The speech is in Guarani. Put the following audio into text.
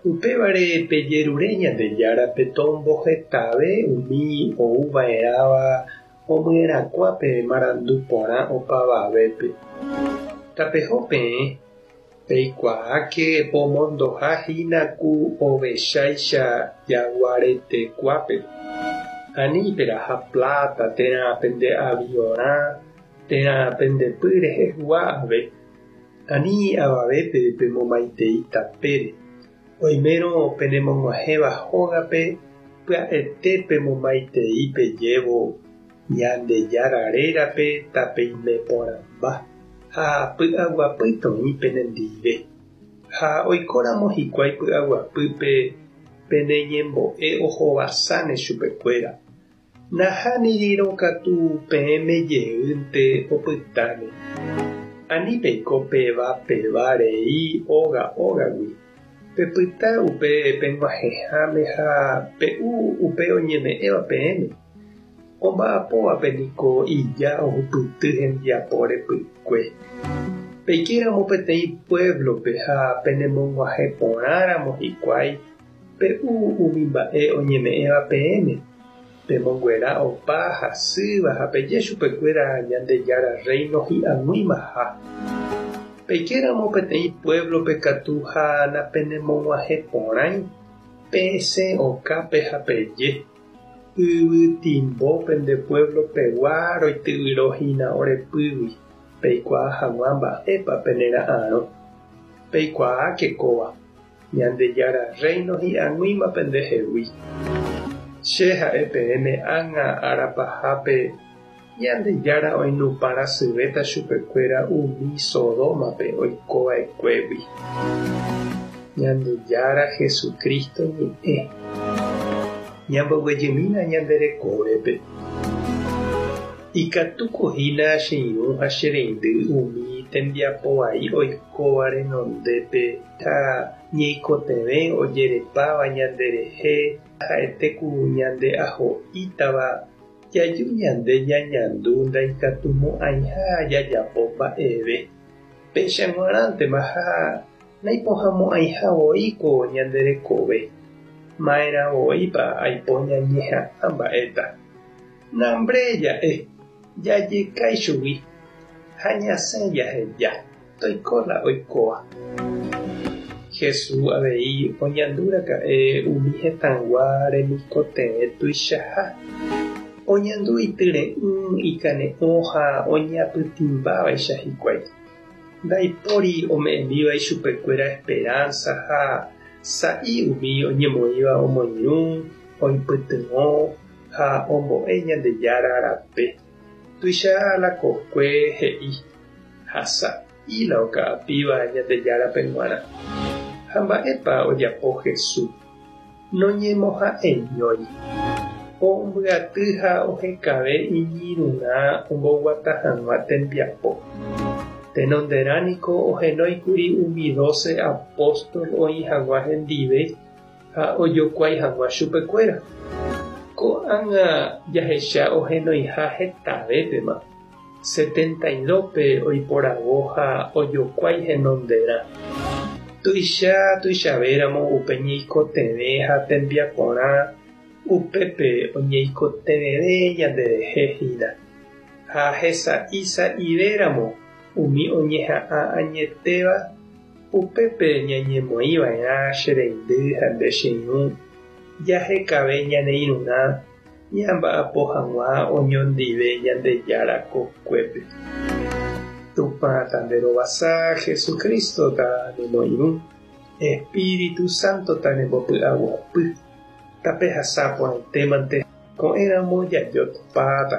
Upévare pejerure Ñandejárape tombohetave umi ou va'erãva omyerakuã pe marandu porã opavavépe. Tapeho peẽ, peikuaáke pomondoha hína ku ovecháicha jaguaretekuápe. Ani peraha pláta térã pende aviorã térã pende py rehegua ave. Ani avavépe pemomaitei tapére. Oimérõ penemog̃uahẽva hógape pya'ete pemomaitei pejévo Ñandejára rérape tapeime porãmba ha py'aguapy toĩ penendive. Ha oikóramo hikuái py'aguapýpe pene ñembo'e ohovasáne chupekuéra. Nahánirirõ katu peẽme jeýnte opytáne. Ani peiko peva peva rei óga ógagui. Pepyta upe peg̃uahẽháme ha pe'u upe oñeme'ẽva peẽme. Omba'apóvape niko ija ohupyty hembiapo repykue. Peikéramo peteĩ puévlope ha penemog̃uahẽ porãramo hikuái, Pe'u umi mba'e oñeme'ẽva peẽme, pemonguera opa hasýva ha peje chupekuéra Ñandejára Rréino hi'ag̃uimaha. Peikéramo peteĩ puévlope katu ha napenemog̃uahẽporãi, pesẽ okápe ha peje, Yvytimbo pende puevlopegua roityvyro hína ore pýgui, peikuaa hag̃ua mba'épa penera'arõ. Peikuaáke kóva, Ñandejára Rréino hi'ag̃uíma pendehegui. Che ha'e peẽme ág̃a ára pahápe Ñandejára oinupã rasyvéta chupekuéra umi Sodómape oiko va'ekuégui. Ñandejára Jesucristo ñe'ẽ. Ñamboguejymína ñande rekovépe. Ikatúko hína che irũ ha che reindy umi tembiapo vai oikóva renondépe ha ñeikotevẽ ojerepáva ñanderehe ha'ete ku ñande aho'ítava jaju ñande ñañandu ndaikatumo'ãiha jajapo mba'eve. Péicha g̃uarãntema ha naipohãmo'ãiha voi ko ñande rekove. Ma'erã voípa aipo ñañeha'ã mba'éta. Nambre ja'e, jajeka ichugui ha ñasẽ jaheja toiko la oikóva. Jesús avei oñandu raka'e umi hetãygua remikotevẽ tuichaha. Oñandu ityre'ỹ, ikane'õ ha oñapytĩmbávaicha hikuái. Ndaipóri ome'ẽmíva ichupekuéra esperánsa ha sa'i umi oñemoĩva omoirũ, oipytyvõ ha ombo'e Ñandejára rape. Tuicha la kokue he'i ha sa'i la oka'apíva Ñandejárape g̃uarã. Ha mba'épa ojapo Jesús? Noñemoha'eñói. Ombyaty ha ohekave iñirũrã omboguata hag̃ua tembiapo. Tenonderã niko ohenóikuri umi dóse apóstol oĩ hag̃ua hendive ha ojokuái hag̃ua chupekuéra. Ko'ág̃a jahecha ohenoiha hetavépema, 72-pe oiporavo ha ojokuái henonderã. Tuicha tuichavéramo upe ñeikotevẽ ha tembiaporã upépe oñeikotevẽve ñanderehe hína, ha hesa'i sa'ivéramo umi oñeha'ã añetéva Upépe ñañemoĩ va'erã che reindy ha nde che irũ, jahekave ñane irũrã ñamba'apo hag̃ua oñondive Ñandejára kokuépe. Tupã tanderovasa, Jesucristo ta nemoirũ, Espíritu Santo ta nembopy'aguapy, tapehasa porãitémante ko'ẽramo jajotopáta.